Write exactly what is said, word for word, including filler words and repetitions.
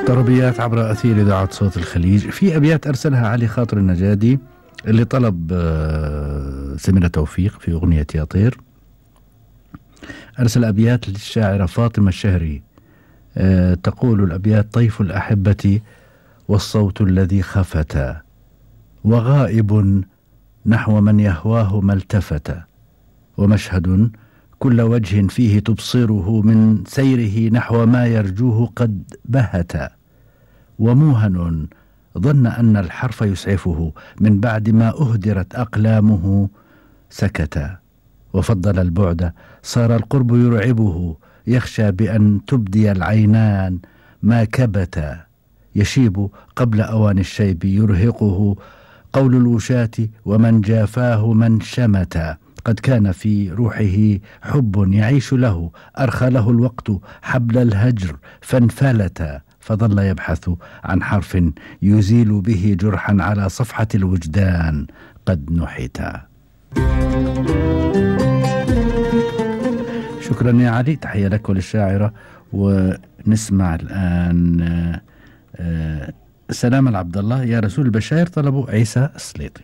طربيات عبر أثير إذاعة صوت الخليج. في أبيات أرسلها علي خاطر النجادي اللي طلب سميرة توفيق في أغنية يا طير. أرسل أبيات للشاعرة فاطمة الشهري، أه تقول الأبيات: طيف الأحبة والصوت الذي خفت، وغائب نحو من يهواه ما التفت، ومشهد كل وجه فيه تبصره من سيره نحو ما يرجوه قد بهت، وموهن ظن أن الحرف يسعفه من بعد ما أهدرت أقلامه سكت، وفضل البعد صار القرب يرعبه، يخشى بأن تبدي العينان ما كبت، يشيب قبل أوان الشيب يرهقه قول الوشاة، ومن جافاه من شمت، قد كان في روحه حب يعيش له، أرخى له الوقت حبل الهجر فانفلت، فظل يبحث عن حرف يزيل به جرحا على صفحة الوجدان قد نحت. شكرا يا علي، تحية لك وللشاعرة. ونسمع الآن سلام العبد الله: يا رسول البشائر طلبوا عيسى السليطي.